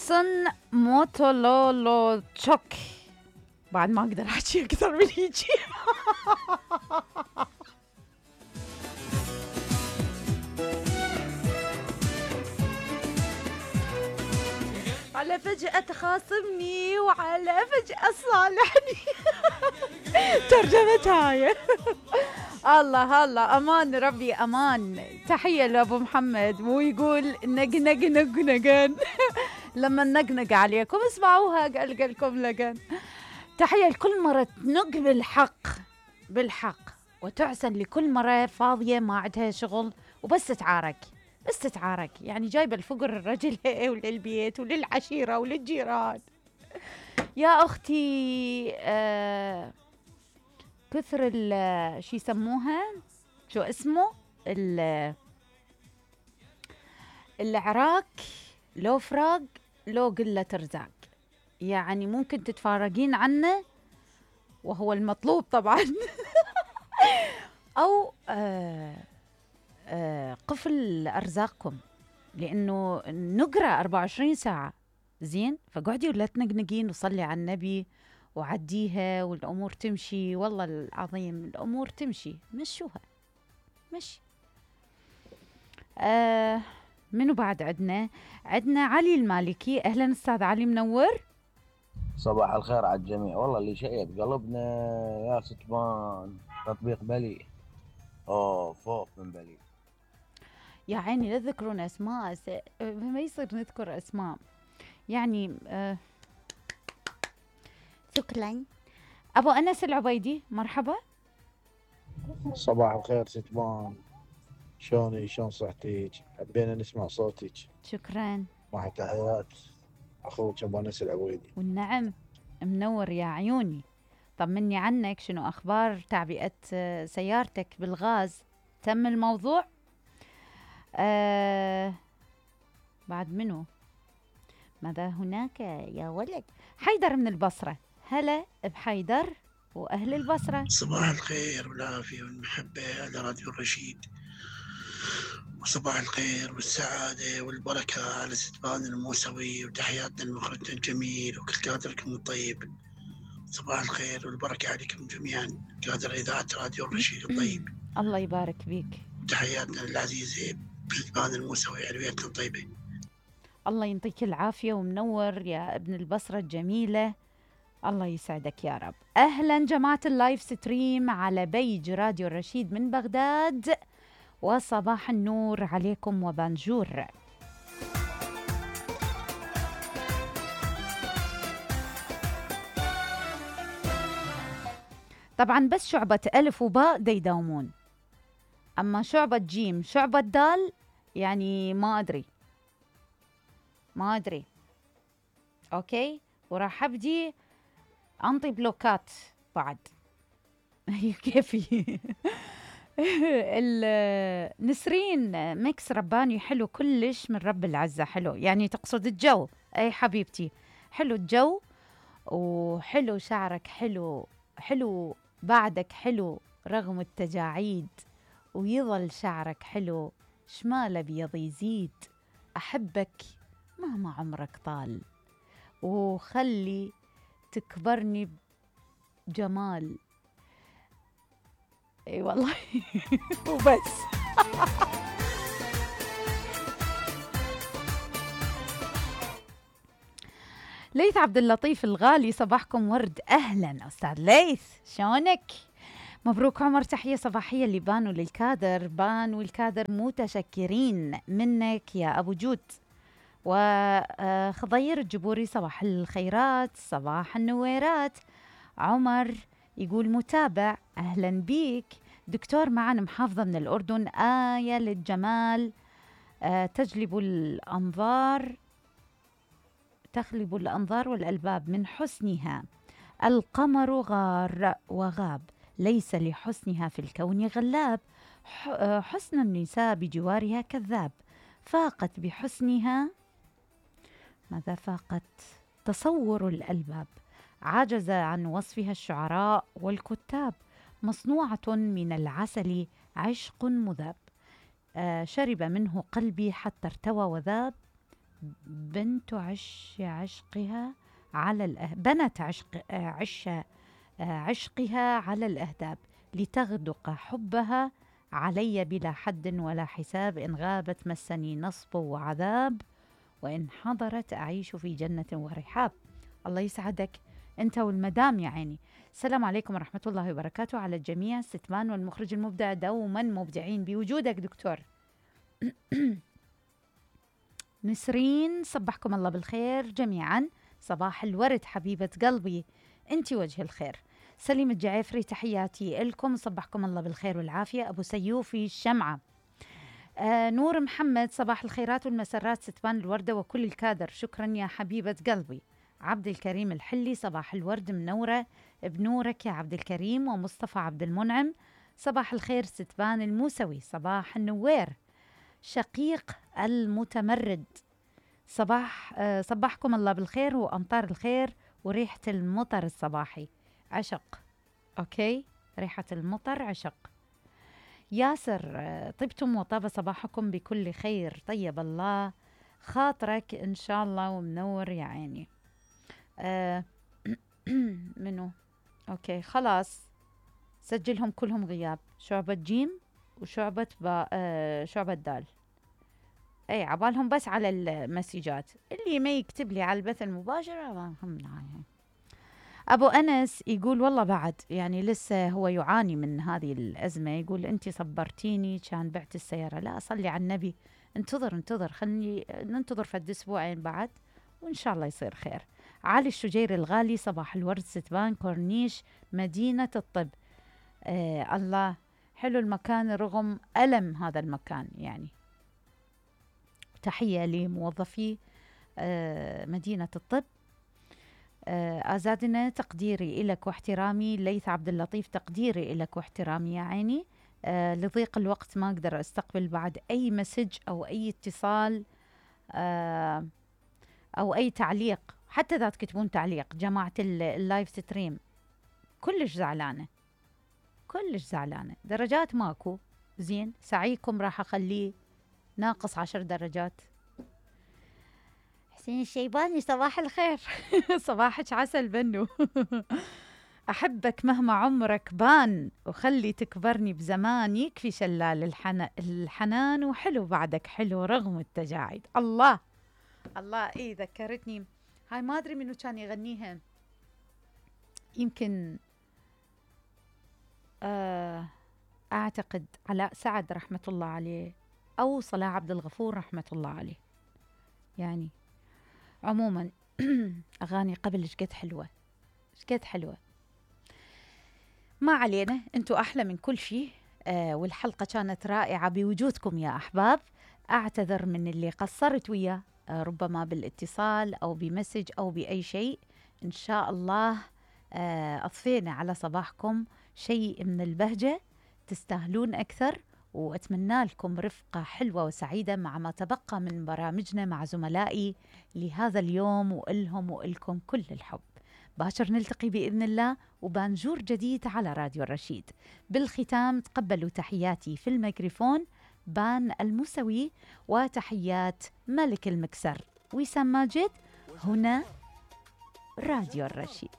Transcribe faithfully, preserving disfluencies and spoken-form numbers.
جونسون موتولولوتشوك. بعد ما اقدر احكي اكثر من هيجي. على فجأة تخاصمني وعلى فجأة صالحني. ترجمة هاي. الله الله، امان ربي امان. تحية لابو محمد، ويقول نق نق نق نقن. لما نقنق عليكم اسمعوها قلقلكم لقن. تحية لكل مرة تنق بالحق بالحق، وتعسن لكل مرة فاضية ما عندها شغل وبس تتعارك بس تتعارك، يعني جايبة الفقر الرجل وللبيت وللعشيرة وللجيران. يا أختي آه كثر ال شو يسموها، شو اسمه، ال العراك لو فراق لو قلة رزاق، يعني ممكن تتفارقين عنه وهو المطلوب طبعا. أو آه آه قفل أرزاقكم، لأنه نقرأ أربعة وعشرين ساعة زين، فقعدي ولا تنقنقين وصلي على النبي وعديها والأمور تمشي. والله العظيم الأمور تمشي، مشوها مشي. آه منو بعد عدنا؟ عدنا علي المالكي. أهلا أستاذ علي، منور. صباح الخير على الجميع. والله اللي شيد قلبنا يا ستمان تطبيق بلي. اوه فوق من بلي يا عيني لا تذكرون اسماء، س... ما يصير نذكر اسماء يعني. آه... شكرا. ابو انس العبيدي، مرحبا. صباح الخير ستمان، شلوني شلون صحتك؟ حبينا نسمع صوتك. شكرا. مع تحيات اخوك ابو انس العبيدي. والنعم، منور يا عيوني. طمني عنك، شنو اخبار تعبئة سيارتك بالغاز؟ تم الموضوع؟ آه بعد منو؟ ماذا هناك يا ولد؟ حيدر من البصرة. هلا بحيدر وأهل البصرة. صباح الخير والعافية والمحبة على راديو الرشيد، وصباح الخير والسعادة والبركة على ستبان الموسوي، وتحياتنا لمخرجنا الجميل وكل كادركم الطيب. صباح الخير والبركة عليكم جميعا، كادر إذاعة راديو الرشيد الطيب. الله يبارك بيك. وتحياتنا للعزيزة ستبان الموسوي علويتنا الطيبة. الله ينطيك العافية ومنور يا ابن البصرة الجميلة، الله يسعدك يا رب. أهلا جماعة اللايف ستريم على بيج راديو الرشيد من بغداد، وصباح النور عليكم وبانجور. طبعا بس شعبة ألف وباء دا يداومون، أما شعبة جيم شعبة دال يعني ما أدري ما أدري. أوكي، وراح أبدي أنطي بلوكات بعد. كيفي. نسرين ميكس رباني حلو كلش من رب العزة. حلو يعني تقصد الجو؟ أي حبيبتي، حلو الجو وحلو شعرك، حلو حلو بعدك، حلو رغم التجاعيد، ويظل شعرك حلو، شمال بيض يزيد. أحبك مهما عمرك طال، وخلي تكبرني بجمال. اي والله. وبس. ليث عبد اللطيف الغالي، صباحكم ورد. اهلا استاذ ليث، شلونك؟ مبروك عمر. تحية صباحية اللي بانوا للكادر، بانوا الكادر متشكرين منك يا ابو جود. وخضير الجبوري، صباح الخيرات، صباح النويرات. عمر يقول متابع، أهلا بيك. دكتور معنا محافظة من الأردن، آية للجمال، آه تجلب الأنظار تخلب الأنظار والألباب من حسنها. القمر غار وغاب، ليس لحسنها في الكون غلاب. حسن النساء بجوارها كذاب، فاقت بحسنها ماذا فاقت؟ تصور الألباب. عجز عن وصفها الشعراء والكتاب. مصنوعة من العسل عشق مذاب، آه شرب منه قلبي حتى ارتوى وذاب. بنت عش عشقها على الأه... بنت عشق عش عشقها على الأهداب لتغدق حبها علي بلا حد ولا حساب، إن غابت مسني نصب وعذاب، وإن حضرت أعيش في جنة ورحاب. الله يسعدك أنت والمدام يا عيني. السلام عليكم ورحمة الله وبركاته على الجميع. ستمان والمخرج المبدع دوما مبدعين بوجودك دكتور. نسرين صبحكم الله بالخير جميعا. صباح الورد حبيبة قلبي، أنت وجه الخير. سليم الجعيفري تحياتي لكم، صبحكم الله بالخير والعافية. أبو سيوفي الشمعة. آه نور محمد صباح الخيرات والمسرات ستبان الوردة وكل الكادر، شكرا يا حبيبة قلبي. عبد الكريم الحلي صباح الورد منورة بنورك يا عبد الكريم. ومصطفى عبد المنعم صباح الخير ستبان الموسوي، صباح النوير شقيق المتمرد. صباح آه صباحكم الله بالخير وأمطار الخير وريحة المطر الصباحي عشق. أوكي، ريحة المطر عشق. ياسر آه طبتم وطاب صباحكم بكل خير، طيب الله خاطرك إن شاء الله ومنور يا عيني. آه منو؟ أوكي خلاص سجلهم كلهم غياب، شعبة جيم وشعبة با آه شعبة دال. اي عبالهم بس على المسيجات، اللي ما يكتب لي على البث المباشر. أبو أنس يقول والله بعد يعني لسه هو يعاني من هذه الأزمة، يقول أنت صبرتيني كان بعت السيارة. لا أصلي على النبي، انتظر انتظر خلني ننتظر فد أسبوعين بعد وإن شاء الله يصير خير. علي الشجير الغالي صباح الورد ستبان كورنيش مدينة الطب. آه الله حلو المكان رغم ألم هذا المكان يعني. تحية لموظفي آه مدينة الطب. آه أزادنا تقديري إلك واحترامي. ليث عبد اللطيف تقديري إلك واحترامي يا عيني. آه لضيق الوقت ما أقدر أستقبل بعد أي مسج أو أي اتصال آه أو أي تعليق، حتى إذا تكتبون تعليق جماعة اللايف ستريم. كلش زعلانة كلش زعلانة، درجات ماكو. زين سعيكم راح أخليه ناقص عشر درجات. حسين الشيباني صباح الخير. صباحك عسل بنو. أحبك مهما عمرك بان وخلي تكبرني بزمان، يكفي شلال الحنا الحنان وحلو بعدك حلو رغم التجاعيد. الله الله إيه ذكرتني هاي، ما أدري منو كان يغنيها، يمكن آه أعتقد علاء سعد رحمة الله عليه أو صلاح عبد الغفور رحمة الله عليه. يعني عموما أغاني قبل شقد حلوة شقد حلوة. ما علينا، أنتوا أحلى من كل شيء. آه والحلقة كانت رائعة بوجودكم يا أحباب. أعتذر من اللي قصرت وياه، آه ربما بالاتصال أو بمسج أو بأي شيء. إن شاء الله آه أضفينا على صباحكم شيء من البهجة، تستاهلون أكثر. وأتمنى لكم رفقة حلوة وسعيدة مع ما تبقى من برامجنا مع زملائي لهذا اليوم، وإلهم وإلكم كل الحب. باشر نلتقي بإذن الله وبانجور جديد على راديو الرشيد. بالختام تقبلوا تحياتي في الميكروفون بان الموسوي، وتحيات ملك المكسر وسام ماجد، هنا راديو الرشيد.